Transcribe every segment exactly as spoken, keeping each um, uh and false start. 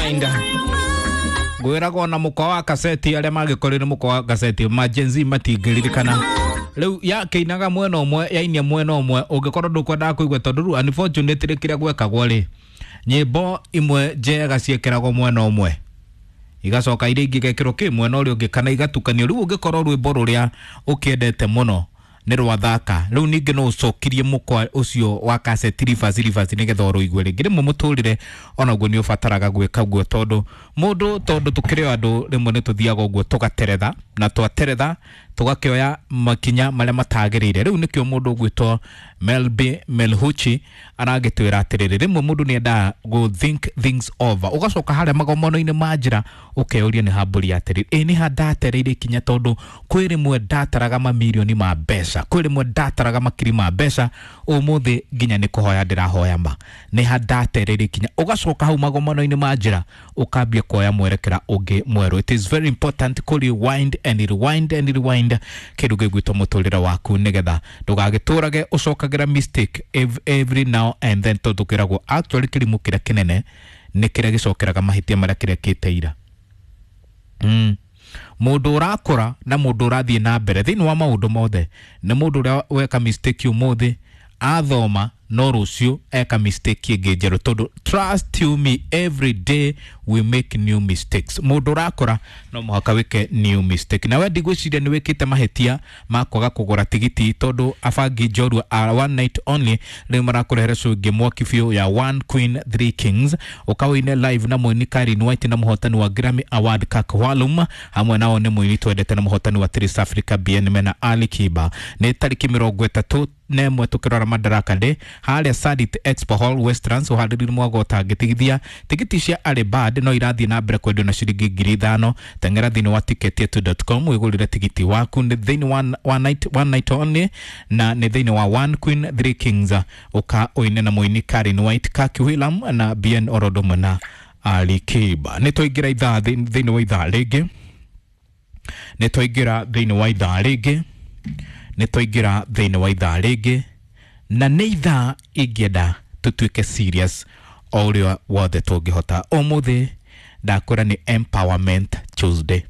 Rewind. Ngwĩragwo na mũkwa wa kaseti arĩa magĩkorire mũkwa wa kaseti ma Gen Z matingĩririkana. Rĩu yakĩinaga mwena ũmwe yainia mwena ũmwe ũngĩkorwo ndũkwendaga kũigua tondũ rĩu unfortunately kĩrĩa gwekagwo rĩ nyĩmbo imwe njega ciĩkĩragwo mwena ũmwe igacoka iria ingĩ igekĩrwo kĩ mwena ũrĩa ũngĩ kana igatukanio. Rĩu ũngĩkorwo rwĩmbo rũrĩa ũkĩendete mũno nĩ rwathaka rĩu ningĩ no ũcokirie mũkwa ũcio wa kaseti reverse reverse nĩgetha ũrũigue rĩngĩ. Rĩmwe mũtũrĩre onaguo nĩ ũbataraga gwĩka guo tondũ mũndũ tondũ tũkĩrĩ o andũ rĩmwe nĩ tũthiaga ũguo tũgateretha na twateretha tũgakĩoya makinya marĩa matagĩrĩire. Rĩu nĩkĩo mũndũ ũgwĩtwo Melby Melhuchi aragĩtwĩra atĩrĩrĩ rĩmwe mũndũ nĩ endaga gũ think things over ũgacoka harĩa magomano-inĩ ma njĩra ũkeyũria nĩ hambũri atĩrĩrĩ ĩ nĩ ha ndatereire ikinya tondũ kwĩ rĩmwe ndataraga mamirioni ma mbeca kwĩ rĩmwe ndataraga makiri ma mbeca ũmũthĩ nginya nĩ kũhoya ndĩrahoya ma nĩ ha ndatereire ikinya ũgacoka hau magomano-inĩ ma njĩra ũkambia kuoya mwerekera ũngĩ mwerũ. It is very important kũ rewind and rewind and rewind kĩndũ gĩgwĩtwo mũtũrĩre waku nĩgetha ndũgagĩtũrage ũcokagĩra mistake every now and then tondũ kĩragwo actually kĩrimũ kĩrĩa kĩnene nĩ kĩrĩa gĩcokeraga mahĩtia marĩa kĩrekĩte ira. Mm. Mũndũ ũrakũra na mũndũ ũrathiĩ na mbere thĩinĩ wa maũndũ mothe nĩ mũndũ ũrĩa weka mistake ũmũthĩ athoma no rũciũ eka mistake ĩngĩ njerũ tondũ trust you me every day we make new mistakes. Mũndũ ũrakũra no mũhaka wĩke new mistake. Na we ndigwĩciria nĩ wĩkĩte mahĩtia ma kwaga kũgũra tigiti tondũ abangi njorua a one night only rĩu marakũrehera show ĩngĩ mwaki biũ ya One Queen Three Kings ũkawĩine live na mũini Karin White na mũhotani wa Grammy Award Kak Walum hamwe nao nĩ mũini twendete na mũhotani wa Trace Africa B N mena Ali Kiba. Nĩ tarĩki mĩrongo ĩtatũ na ĩmwe tũkĩrora Madaraka Day harĩa Sarit Expo Hall Westlands ũharĩrĩri mwago ũtangĩtigithia. Tigiti cia Early Bird no irathiĩ na mbere kwendio na ciringi ngiri ithano. Teng'era thĩinĩ wa ticket dot com wĩgũrĩre tigiti waku. Nĩ thĩinĩ wa one night, one night only na nĩ thĩinĩ wa One Queen Three Kings ũka ũine na mũini Karin White, Kaki William na B N Orodomo na Ali Kiba. Nĩ twaingĩra ithaa thĩinĩ wa ithaa rĩngĩ nĩ twaingĩra thĩinĩ wa ithaa rĩngĩ nĩ twaingĩra thĩinĩ wa ithaa rĩngĩ na nĩ ithaa ingĩenda tũtuĩke serious o ũrĩa wothe tũngĩhota. Ũmũthĩ ndakwĩra nĩ Empowerment Tuesday.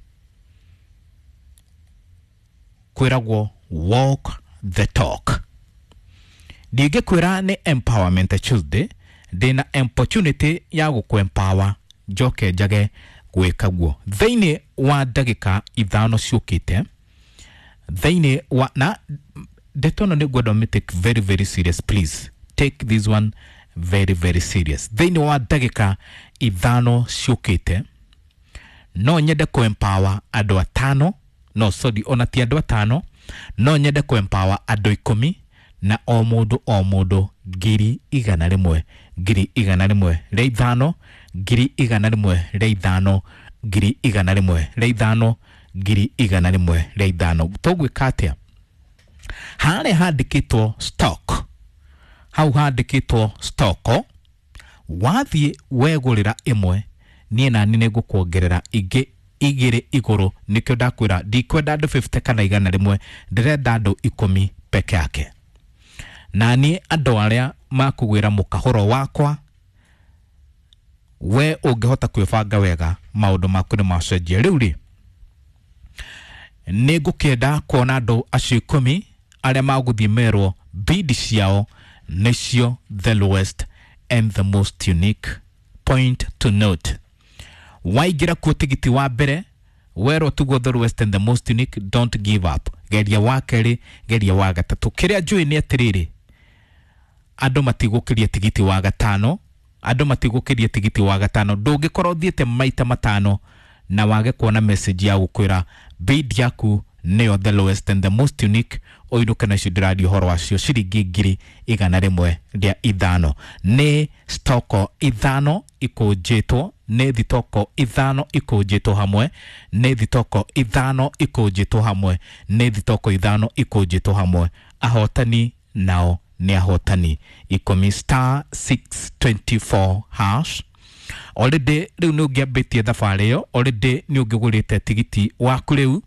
Kwĩragwo walk the talk. Ndingĩkwĩra nĩ Empowerment Tuesday ndĩna opportunity ya gũkũ-empower njoke njage gwĩka guo thĩinĩ wa ndagĩka ithano ciũkĩte thĩinĩ wa na ndeto ĩno nĩ ngwenda ũmĩ take very very serious. Please take this one very very serious. Thĩinĩ wa ndagĩka ithano ciũkĩte no nyende kũ-empower andũ atano no sorry ona ti andũ atano no nyende kũ-empower andũ ikũmi na o mũndũ o mũndũ ngiri igana rĩmwe ngiri igana rĩmwe rĩa ithano ngiri igana rĩmwe rĩa ithano ngiri igana rĩmwe rĩa ithano ngiri igana rĩmwe rĩa ithano. Tũgwĩka atĩa? Harĩa handĩkĩtwo stock hau handĩkĩtwo stock wathiĩ wegũrĩra ĩmwe niĩ nani nĩ ngũkuongerera ingĩ igĩrĩ igũrũ. Nĩkĩo ndakwĩra ndikwenda andũ fifty kana igana rĩmwe ndĩrenda andũ ikũmi peke yake. Na niĩ andũ arĩa makũgwĩra mũkahũro wakwa we ũngĩhota kwĩbanga wega maũndũ maku nĩ macenjia. Rĩu rĩ nĩ ngũkĩenda kuona andũ acio ikũmi arĩa magũthiĩ merwo bid ciao nĩcio the lowest and the most unique. Point to note, waingĩra kuo tigiti wa mbere werwo tuguo the lowest and the most unique, don't give up. Geria wa kerĩ, geria wa gatatũ. Kĩrĩa njũĩ nĩ atĩrĩrĩ andũ matigũkĩria tigiti wa gatano andũ matigũkĩria tigiti wa gatano. Ndũngĩkorwo ũthiĩte maita matano na wage kuona message ya gũkwĩra bid yaku nĩyo the lowest and the most unique ũinũke nacio ndĩraria ũhoro wacio ciringi ngiri igana rĩmwe rĩa ithano. Nĩ stoko ithano ikũnjĩtwo nĩ thitoko ithano ikũnjĩtwo hamwe nĩ thitoko ithano ikũnjĩtwo hamwe nĩ thitoko ithano ikũnjĩtwo hamwe. Ahotani nao nĩ ahotani ikũmi star six twenty four hash. Already rĩu nĩ ũngĩambĩtie thabarĩ ĩyo, already nĩ ũngĩgũrĩte tigiti waku rĩu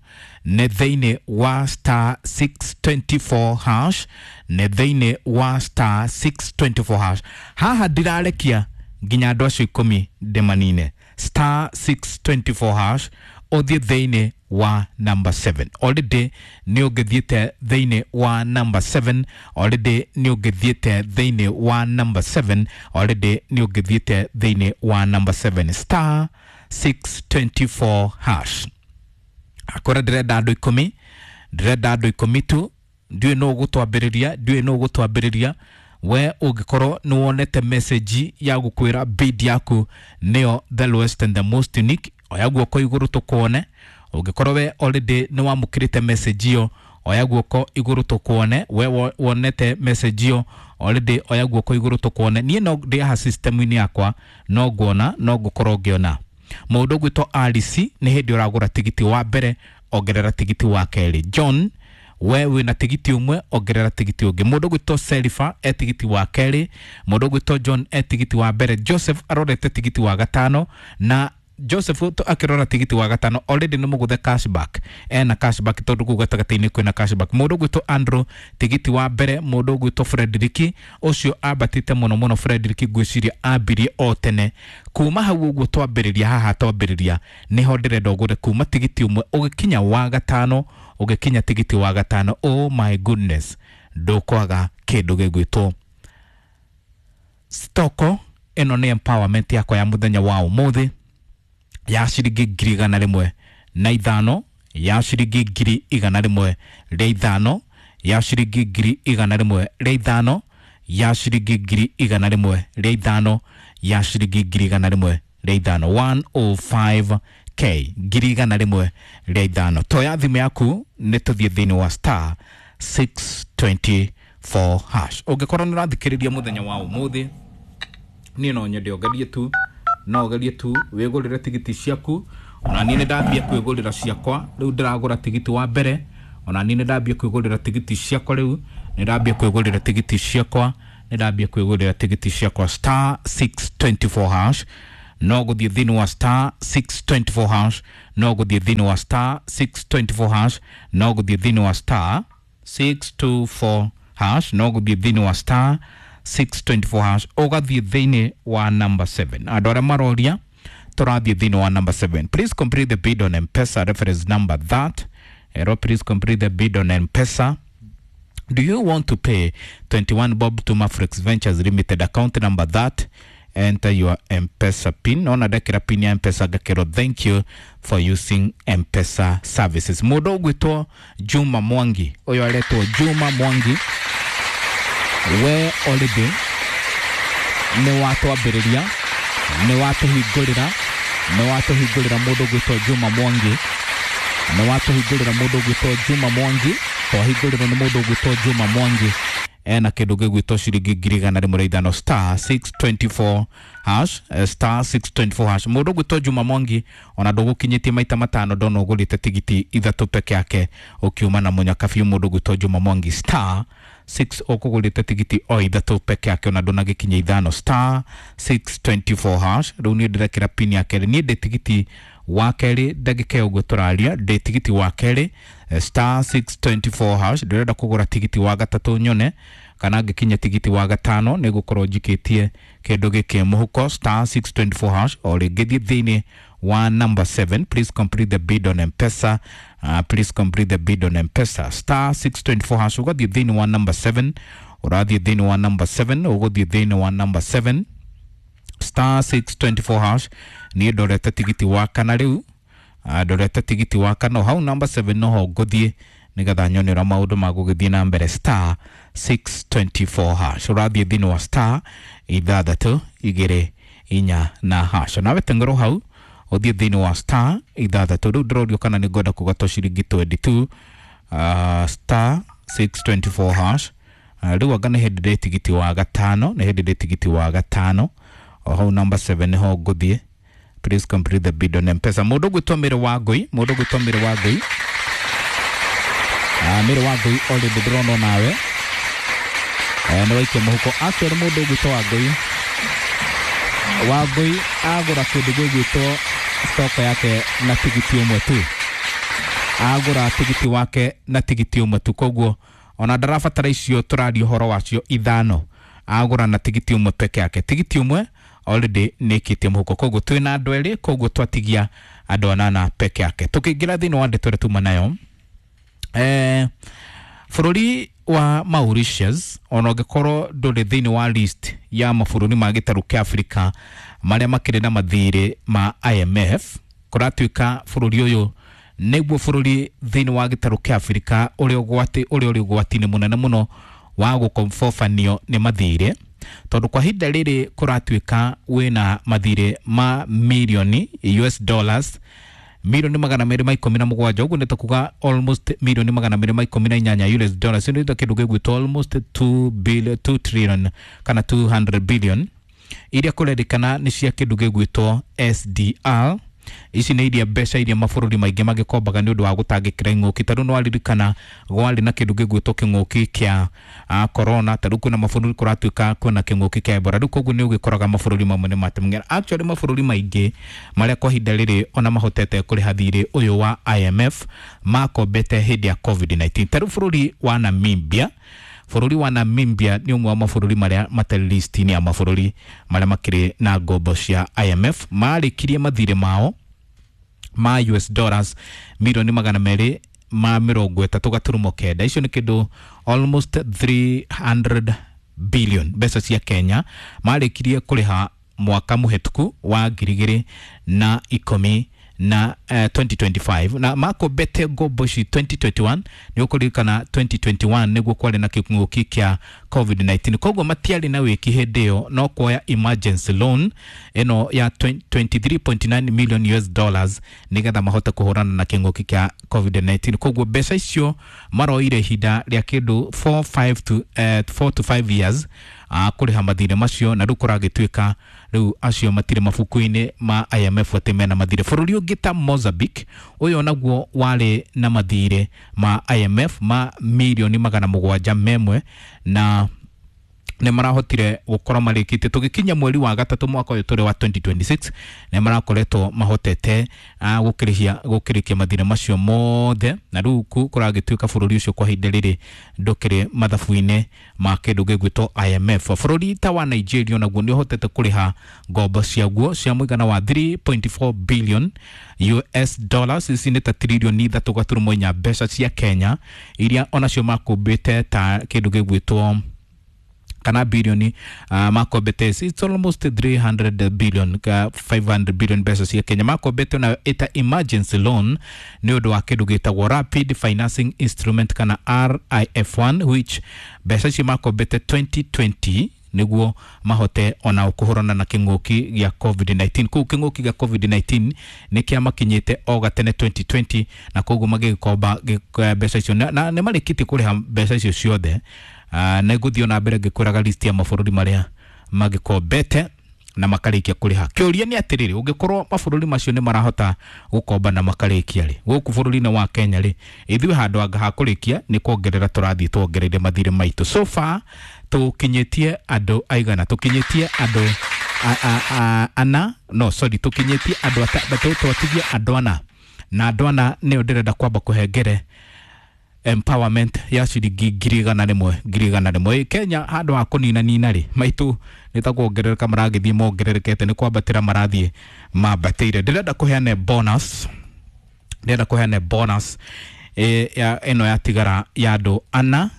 nĩ thĩinĩ wa star six twenty four hash nĩ thĩinĩ wa star six twenty four hash. Haha ndĩrarekia Nginya andũ acio ikũmi ndĩmanine. Star six twenty-four hash, ũthiĩ thĩinĩ wa number seven. Already nĩ ũngĩthiĩte thĩinĩ wa number seven. Already nĩ ũngĩthiĩte thĩinĩ wa number seven. Already nĩ ũngĩthiĩte thĩinĩ wa number seven. Star six twenty-four hash. Akora ndĩrenda andũ ikũmi, ndĩrenda andũ ikũmi tu. Ndiũĩ nũ ũgũtwambĩrĩria, ndiũĩ nũ ũgũtwambĩrĩria. We ũngĩkorwo nĩ wonete message ya gũkwĩra bid yaku nĩyo the lowest and the most unique, oya guoko igũrũ tũkuone. Ũngĩkorwo we already nĩ wamũkĩrĩte message ĩyo, oya guoko igũrũ tũkuone. We wonete message ĩyo already, oya guoko igũrũ tũkuone. Niĩ no ndĩ haha system-inĩ yakwa, no nguona, no ngũkorwo ngĩona. Mũndũ ũgwĩtwo Alice, nĩ hĩndĩ ũragũra tigiti wa mbere, ongerera tigiti wa kerĩ. John, we wĩna tigiti ũmwe, ongerera tigiti ũngĩ. Mũndũ ũgwĩtwo Serifa e tigiti wa kerĩ. Mũndũ ũgwĩtwo John e tigiti wa mbere. Joseph arorete tigiti wa gatano, na Joseph akĩrora tigiti wa gatano already nĩ mũgũthe cashback, ena cashback tondũ kũu gatagatĩ-inĩ kwĩna cashback. Mũndũ ũgwĩtwo Andrew tigiti wa mbere. Mũndũ ũgwĩtwo Frederick ũcio ambatĩte mũno mũno. Frederick ngwĩciria ambirie o tene kuma hau ũguo twambĩrĩria haha, twambĩrĩria nĩho ndĩrenda ũgũre kuma tigiti ũmwe ũgĩkinya wa gatano, ũgĩkinya tigiti wa gatano. Oh my goodness, ndũkwaga kĩndũ gĩgwĩtwo stoko. Ĩno nĩ empowerment yakwa ya mũthenya wa ũmũthĩ ya ciringi ngiri igana rĩmwe na ithano, ya ciringi ngiri igana rĩmwe rĩa ithano, ya ciringi ngiri igana rĩmwe rĩa ithano, ya ciringi ngiri igana rĩmwe rĩa ithano, ya ciringi ngiri igana rĩmwe rĩa ithano, one oh five k, ngiri igana rĩmwe rĩa ithano. Toya thimũ yaku nĩ tũthiĩ thĩinĩ wa star six twenty-four hash. Ũngĩkorwo nĩ ũrathikĩrĩria mũthenya wa ũmũthĩ, niĩ no nyende ũgerie tu, no ũgerie tu wĩgũrĩre tigiti ciaku. Ona niĩ nĩ ndambia kwĩgũrĩra ciakwa rĩu, ndĩragũra tigiti wa mbere. Ona niĩ nĩ ndambia kwĩgũrĩra tigiti ciakwa rĩu, nĩ ndambia kwĩgũrĩra tigiti ciakwa, nĩ ndambia kwĩgũrĩra tigiti ciakwa. Star six twenty-four hash, no gũthiĩ thĩinĩ wa star six twenty-four hash, no gũthiĩ thĩinĩ wa star six twenty-four hash, no gũthiĩ thĩinĩ wa star six two four hash, no gũthiĩ thĩinĩ wa star six twenty-four hash, ũgathiĩ thĩinĩ wa number seven. Andũ arĩa maroria tũrathiĩ thĩinĩ wa number seven. Please complete the bid on M-Pesa reference number that. Ero, please complete the bid on M-Pesa. Do you want to pay twenty-one bob to Mafrex Ventures Limited account number that? Enter your M-Pesa pin. Nona ndekĩra pin ya M-Pesa ngakĩrwo thank you for using M-Pesa services. Mũndũ ũgwĩtwo Juma Mwangi, ũyũ aretwo Juma Mwangi, we already nĩ watwambĩrĩria, nĩ watũhingũrĩra, nĩ watũhingũrĩra. Mũndũ ũgwĩtwo Juma Mwangi, nĩ watũhingũrĩra. Mũndũ ũgwĩtwo Juma Mwangi, twahingũrĩrwo nĩ mũndũ ũgwĩtwo Juma Mwangi, ena kĩndũ gĩgwĩtwo ciringi ngiri igana rĩmwe rĩa ithano. Star six twenty-four hash, star six twenty-four hash. Mũndũ ũgwĩtwo Juma Mwangi ona ndũgũkinyĩtie maita matano, ndona ũgũrĩte tigiti ithatũ peke yake ũkiuma na mũnyaka biũ. Mũndũ ũgwĩtwo Juma Mwangi star six ũkũgũrĩte tigiti o ithatũ peke yake ona ndũnagĩkinya ithano. Star six twenty-four hash. Rĩu niĩ ndĩrekĩra pin ya kerĩ, niĩ ndĩ tigiti wa kerĩ ndagĩka ĩyo ũguo tũraria, ndĩ tigiti wa kerĩ. Star six twenty-four hash. Ndĩrenda kũgũra tigiti wa gatatũ nyone kana ngĩkinya tigiti wa gatano nĩ gũkorwo njikĩtie kĩndũ gĩkĩ mũhuko. Star six twenty-four hash. O rĩngĩ thiĩ thĩinĩ wa number seven. Please complete the bid on M-Pesa. Uh, please complete the bid on M-Pesa. Star six twenty-four hash. Ũgathiĩ thĩinĩ wa number seven, ũrathiĩ thĩinĩ wa number seven, ũgũthiĩ thĩinĩ wa number seven. Star six twenty-four hash. Niĩ ndorete tigiti wa kana rĩu, ndorete tigiti wa kana hau number seven noho ngũthiĩ nĩgetha nyone ũrĩa maũndũ magũgĩthiĩ na mbere. Star six twenty-four hash. Ũrathiĩ thĩinĩ wa star ithathatũ igĩrĩ inya na hash. Nawe teng'erwo hau ũthiĩ thĩinĩ wa star ithathatũ. Rĩu ndĩrorio kana nĩ ngwenda kũgatwo ciringi twenty-two. uh, star six twenty-four hash. Rĩu anga nĩ hĩndĩ ndĩ tigiti wa gatano, nĩ hĩndĩ ndĩ tigiti wa gatano o hau number seven nĩho ngũthiĩ. Please complete the bid on M-Pesa. Mũndũ ũgwĩtwo Mĩrĩ wa Ngũi, mũndũ ũgwĩtwo Mĩrĩ wa Ngũi, ah, Mĩrĩ wa Ngũi already ndĩrona nawe nĩ waikia mũhuko. Actually mũndũ ũgwĩtwo wa Ngũi, wa Ngũi agũra kĩndũ gĩgwĩtwo stock yake na tigiti ũmwe tu, agũra tigiti wake na tigiti ũmwe tu, koguo ona ndarabatara icio tũraria ũhoro wacio ithano, agũra na tigiti ũmwe peke yake, tigiti ũmwe already nĩ ĩkĩtie mũhuko. Koguo twĩna andũ erĩ, koguo twatigia andũ anana peke yake. Tũkĩingĩra thĩinĩ wa ndeto ĩrĩa tuma nayo, eh, bũrũri wa Mauritius ona ũngĩkorwo ndũrĩ thĩinĩ wa list ya mabũrũri ma gĩtarũ kĩa Afrika marĩa makĩrĩ na mathirĩ ma I M F, kũratuĩka bũrũri ũyũ nĩguo bũrũri thĩinĩ wa gĩtarũ kĩa Afrika ũrĩa ũgwati ũrĩa ũrĩ ũgwati-inĩ mũnene mũno wa gũkombobanio nĩ mathirĩ, tondũ kwa ihinda rĩrĩ kũratuĩka wĩna mathirĩ ma mirioni U S dollars milioni magana merĩ ma ikũmi na mũgwanja, ũguo nĩ ta kuga almost milioni magana merĩ ma ikũmi na inyanya U S dollars, nĩ ta kĩndũ gĩgwĩtwo almost two billion, two trillion kana two hundred billion iria kũrerĩkana nĩ cia kĩndũ gĩgwĩtwo S D R. Ici nĩ iria mbeca iria mabũrũri maingĩ magĩkombaga nĩ ũndũ wa gũtangĩkĩra ing'ũki. Tondũ nĩ waririkana gwarĩ na kĩndũ gĩgwĩtwo kĩng'ũki kĩa corona, ta rĩu kwĩna mabũrũri kũratuĩka kwĩna kĩng'ũki kĩa Ebola. Rĩu koguo nĩ ũgĩkoraga mabũrũri mamwe nĩ matemng'era. Actually mabũrũri maingĩ marĩa kwa ihinda rĩrĩ ona mahotete kũrĩha thirĩ ũyũ wa I M F makombete hĩndĩ ya COVID nineteen. Ta rĩu bũrũri wa Namibia, bũrũri wa Namibia nĩ ũmwe wa mabũrũri marĩa matarĩ list-inĩ ya mabũrũri marĩa makĩrĩ na ngombo cia I M F. Marĩkirie mathirĩ mao ma U S dollars milioni magana merĩ ma mĩrongo ĩtatũ gaturumo kenda. Icio nĩ kĩndũ almost three hundred billion mbeca cia Kenya. Marĩkirie kũrĩha mwaka mũhetũku wa ngiri igĩrĩ na ikũmi na uh, twenty twenty-five, na makombete ngombo ici twenty twenty-one. Nĩ ũkũririkana twenty twenty-one nĩguo kwarĩ na kĩng'ũki kĩa COVID nineteen, koguo matiarĩ na wĩki hĩndĩ ĩyo no kuoya emergency loan ĩno ya twenty-three point nine million U S dollars nĩgetha mahote kũhũrana na kĩng'ũki kĩa COVID nineteen. Koguo mbeca icio maroire ihinda rĩa kĩndũ four, five to, uh, four to five years uh, kũrĩha mathirĩ macio, na rĩu kũragĩtuĩka rĩu acio matirĩ mabuku-inĩ ma I M F atĩ mena mathirĩ. Bũrũri ũngĩ ta Mozambique ũyũ naguo warĩ na mathirĩ ma I M F ma milioni magana mũgwanja memwe, na nĩ marahotire gũkorwo marĩkĩtie tũgĩkinya mweri wa gatatũ mwaka ũyũ tũrĩ wa twenty twenty-six, nĩ marakoretwo mahotete gũkĩrĩhia gũkĩrĩkia mathirĩ macio mothe, na rĩu kũragĩtuĩka bũrũri ũcio kwa ihinda rĩrĩ ndũkĩrĩ mathabu-inĩ ma kĩndũ gĩgwĩtwo I M F. Bũrũri ta wa Nigeria naguo nĩ ũhotete kũrĩha ngombo ciaguo cia mũigana wa three point four billion U S dollars, ici nĩ ta trilioni ithatũ gaturumo inya mbeca cia Kenya, iria onacio makũmbĩte ta kĩndũ gĩgwĩtwo kana bilioni uh, makombete, it's almost three hundred billion uh, five hundred billion mbeca cia Kenya makombete na ita emergency loan nĩ ũndũ wa kĩndũ gĩtagwo Rapid Financing Instrument kana R I F one, which mbeca ici makombete twenty twenty nĩguo mahote ona kũhũrana na kĩng'ũki gĩa COVID nineteen. Kũu kĩng'ũki gĩa COVID nineteen nĩ kĩamakinyĩte o gatene twenty twenty, na koguo magĩgĩkomba mbeca icio na nĩ marĩkĩtie kũrĩha mbeca icio ciothe. Uh, na ngũthiĩ na mbere ngĩkwĩraga list ya mabũrũri marĩa magĩkombete na makarĩkia kũrĩha. Kĩũria nĩ atĩrĩrĩ, ũngĩkorwo mabũrũri macio nĩ marahota gũkomba na makarĩkia rĩ, gũkũ bũrũri-inĩ wa Kenya rĩ, ithuĩ handũ anga ha kũrĩkia nĩ kuongerera tũrathiĩ tuongereire mathirĩ maitũ. So far tũkinyĩtie andũ aigana? Tũkinyĩtie andũ ana, no sorry, tũkinyĩtie andũ atatũ, twatigie andũ ana, na andũ ana nĩo ndĩrenda kwamba kũhengere empowerment ya ciringi ngiri igana rĩmwe ngiri igana rĩmwe. Kenya handũ ha kũnina nina rĩ, maitũ nĩ ta kuongerereka maragĩthiĩ mongererekete, nĩ kwambatĩra marathiĩ mambatĩire. Ndĩrenda kũheana bonus, ndĩrenda kũheana bonus e, ya ĩno yatigara ya andũ ana,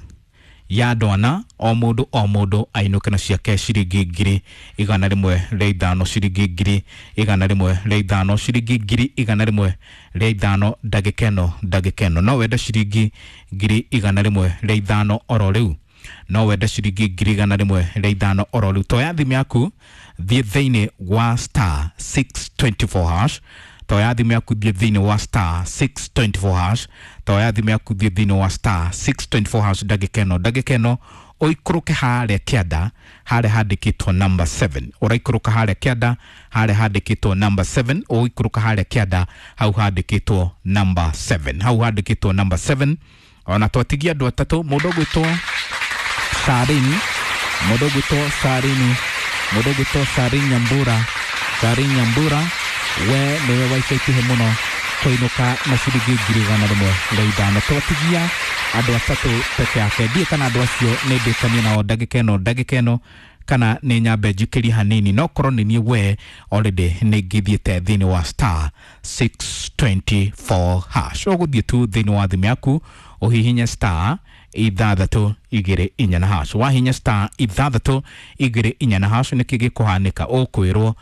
ya andũ ana, o mũndũ o mũndũ ainũke na ciake ciringi ngiri igana rĩmwe rĩa ithano, ciringi ngiri igana rĩmwe rĩa ithano, ciringi ngiri igana rĩmwe rĩa ithano ndagĩka ĩno ndagĩka ĩno. No wende ciringi ngiri igana rĩmwe rĩa ithano oro rĩu, no wende ciringi ngiri igana rĩmwe rĩa ithano oro rĩu. Toya thimũ yaku thiĩ thĩinĩ wa star six twenty four hash, toya thimũ yaku thiĩ thĩinĩ wa star six twenty four hash, toya thimũ yaku thiĩ thĩinĩ wa star six twenty four hash ndagĩka ĩno ndagĩka ĩno ũikũrũke harĩa kĩanda harĩa handĩkĩtwo number seven, ũraikũrũka harĩa kĩanda harĩa handĩkĩtwo number seven, ũikũrũka harĩa kĩanda hau handĩkĩtwo number seven, hau handĩkĩtwo number seven. Ona twatigia andũ atatũ, mũndũ ũgwĩtwo Sarini, mũndũ ũgwĩtwo Sarini, mũndũ ũgwĩtwo Sarini Nyambura, Sarini Nyambura, we nĩwe wa ica ikuhĩ mũno kũinũka na ciringi ngiri igana rĩmwe rĩa ithano. Twatigia andũ atatũ peke yake, ndiĩ kana andũ acio nĩ ndĩkanie nao ndagĩka ĩno ndagĩka ĩno Kana nĩ nyambe njikĩrie hanini? No korwo nĩ niĩ we, already nĩ ngithiĩte thĩinĩ wa star six two four hash. Ũgũthiĩ tu thĩinĩ wa thimũ yaku, ũhihinye star ithathatũ igĩrĩ inya na hash. Wahinya star ithathatũ igĩrĩ inya na hash, nĩkĩ gĩkũhanĩka? Ũkwĩrwo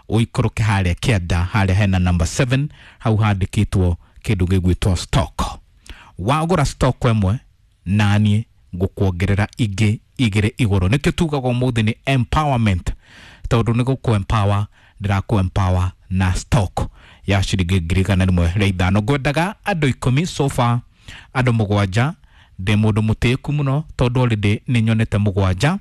ũikũrũke harĩa kĩanda, harĩa hena number seven, hau handĩkĩtwo kĩndũ gĩgwĩtwo stock. Wagũra stock ĩmwe, naniĩ ngũkuongerera ingĩ igĩrĩ igũrũ. Nĩkĩo tugaga ũmũthĩ nĩ empowerment, tondũ nĩ gũkũ empower, ndĩrakũ empower na stock ya ciringi ngiri igana rĩmwe rĩa ithano. Ngwendaga andũ ikũmi, so far andũ mũgwanja. Ndĩ mũndũ mũtĩĩku mũno, tondũ already nĩ nyonete mũgwanja,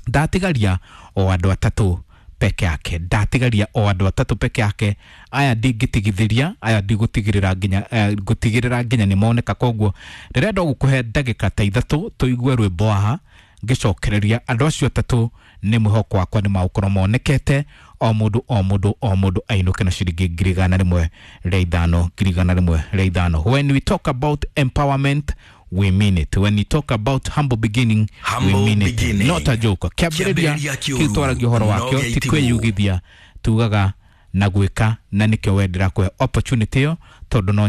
ndatigaria o andũ atatũ peke yake, ndatigaria o andũ atatũ peke yake. Aya ndingĩtigithĩria, aya ndigũtigĩrĩra nginya eh, ngũtigĩrĩra nginya nĩ moneka. Koguo ndĩrenda gũkũhe ndagĩka ta ithatũ tũigue rwĩmbo haha, ngĩcokereria andũ acio atatũ. Nĩ mwĩhoko wakwa nĩ magũkorwo monekete, o mũndũ o mũndũ o mũndũ ainũke na ciringi ngiri igana rĩmwe rĩa ithano, ngiri igana rĩmwe rĩa ithano. When we talk about empowerment, we mean it. When we talk about humble beginning, Humble we mean it. beginning. Not a joke. Kĩambĩrĩria Kĩambĩrĩria kĩũru, kĩu twaragia ũhoro no wakĩo gĩa ti itimũ. Kwĩyugithia tugaga na gwĩka, na nĩkĩo wendera kũhe opportunity ĩyo, tondũ no